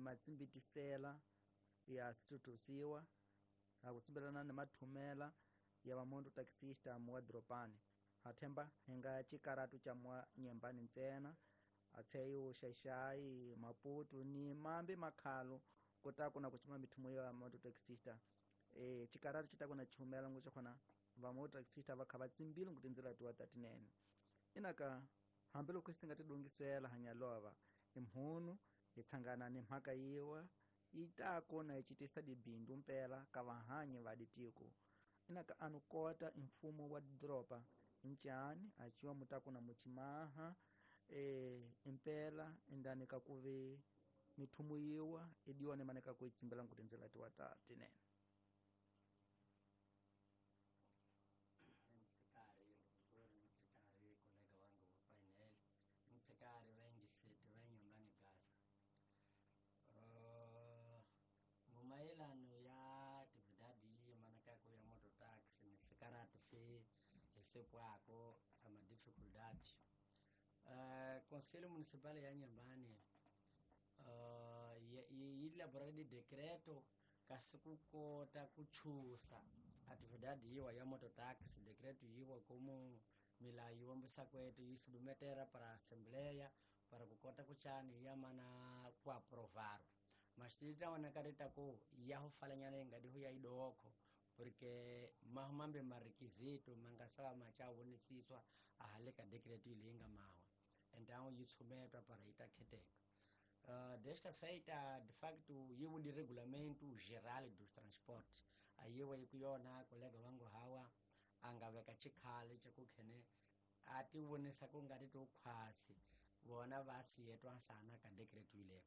matsimbitisela ya situtusiwa akutsimbelana ni mathumela ya vamoto taxista muwa doropani hathemba hinga cikaratu ca muwa nyembani ntsena atsheyo xaixai Maputo ni mambe makhalo kota kuna kuchuma mithumo ya moto taxista cikaratu cita kuna chumela ngo khona vamoto taxista va kha va tsimbile ngo tindzela tiwa tatinene inaka hambiloko hi nga tidungisela hanyalova imhunu hi tshangana ni mhaka yiwa yi ta kona yi citisa dibindu mpela ka vahanyi va ditiko inaka anu kota mfumo wa doropa ncani aciwa mutakuna muchimaha impela indani ka kuve mithumo yiwa idione maneka ku itsimbela ngu tindzela tiwa ta tinene. Nsekari wengi setu wenyumbani Gaza. Ngumayelano ya atividade manaka ku ya moto taxi ni sekaratu se esekwako sama dificuldade. Conselho Municipal ya Inhambane elaborou de decreto kasi kukota kuchusa atividade yiwa ya mototaxi decreto yiwa como milayo yiwombisa kwetu yisubumetera para assembleia para kukota kuchani yamana kuaprovar mas titaona ku yahufalanyana ingadihu ya idoko porque mahumambe marequisito mangasawa machawonisiswa ahaleka decreto ilinga mawa então yitsumetwa para itakheteka. Desta feita, de facto, yiwo di regulamento geral dos transportes. Ayiwa ikuyona kolega wangu hawa angaveka chikhale chakukhene ati wonesa kungati to khwasi vona vasi yetwa sana ka decreto ile.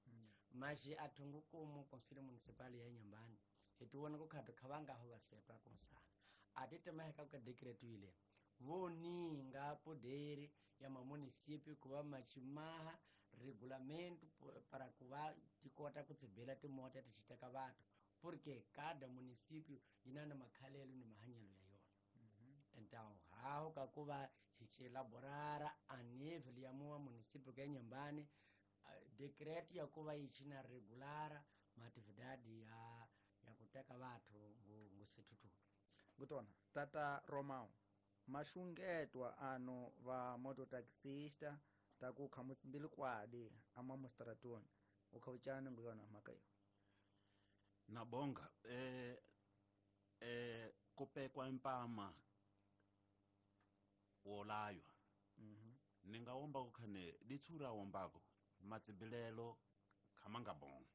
Mas athungu kumu Conselho Municipal ya Inhambane hituwona kukhathu khavangaho vasetwa konsana ati temaheka ka decreto ile voninga poder ya mamunicípio kuva machimaha regulamento para kuva tikota kutsibela timota tichiteka vathu porque cada município yina na makhalelo ni mahanyelo ya yona. Então haho kakuva hichielaborara a nível ya muwa município ka Inhambane decreto ya kuva ichina regulara maatividade ya kuteka vathu ngusithuthuthu. Ngutona tata Romao maxungetwa ano va mototaxista ta ku kha musimbili kwadi ama mustratoni ukhauchana nguyona mhaka yo na bonga kupekwa impama wolaywa. Ningawomba kukhane litsura wombako matsibilelo khamanga bon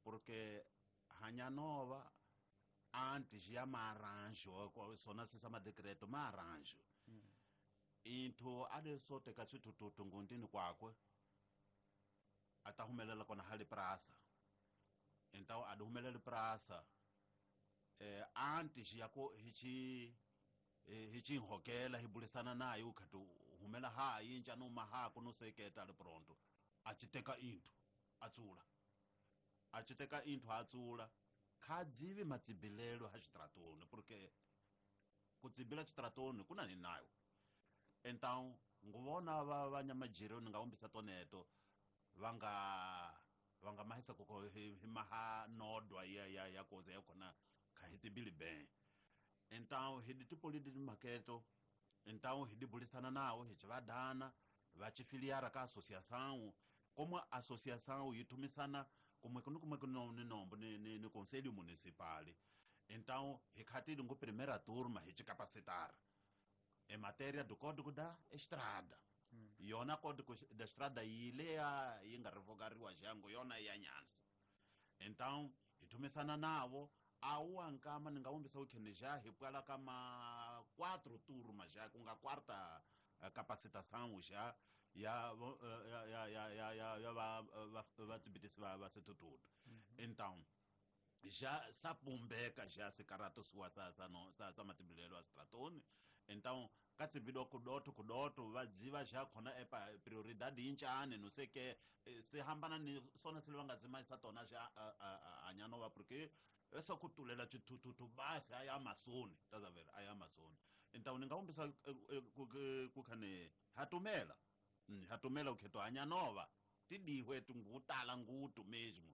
porque hanyanova antes ya maranjo sona sisa madecreto maranjo into ale sote ka tsitututu ngundini kwakwe atahumelela kona hali prasa então aduhumelela prasa antes ya ko hichi hichi hokela hibulisana naye ukhatu humela ha yinja noma ha kunoseketa le pronto achiteka into atsula achiteka into atsula khadzivi matsibilelo ha xitratoni porque kutsibila xitratoni kuna ni nayo então nguvona va vanyamajiro ni nga wombisa toneto vanga mahisa koko hi maha nodwa ya koze ya kona kha hi tsibili ben então hi ditipoli di maketo então hi dibulisana nawo hi chivadana va chifiliara ka associação como associação yi thumisana kumwe ni nombo ni conselho municipal. Então hi khatile ngo primeira turma hi chicapacitar em matéria do código da estrada. Yona código da estrada yilea yi nga revogariwa jango yona ya nyansa. Então hi thumisana navo awu nkama ni nga wombisa ukhene ja hi pwala kama 4 turma ja kunga quarta capacitação já ya ya vatsibitisi va sethuthuthu. Então já sapumbeka já sikarato suwa sa matsibilelo a stratoni. Então ka tsibido kudoto vadziva já khona epa prioridade yinchane no sei que se hambana ni sona se va nga tsimaisa tona já anyanova porque essa kutulela tshithuthuthu basi aya Amazon tazaver aya Amazon. Então ni nga wombisa ku khane hatumela hatumela ukhetho anyanova tidihwe tungutala ngutu mesmo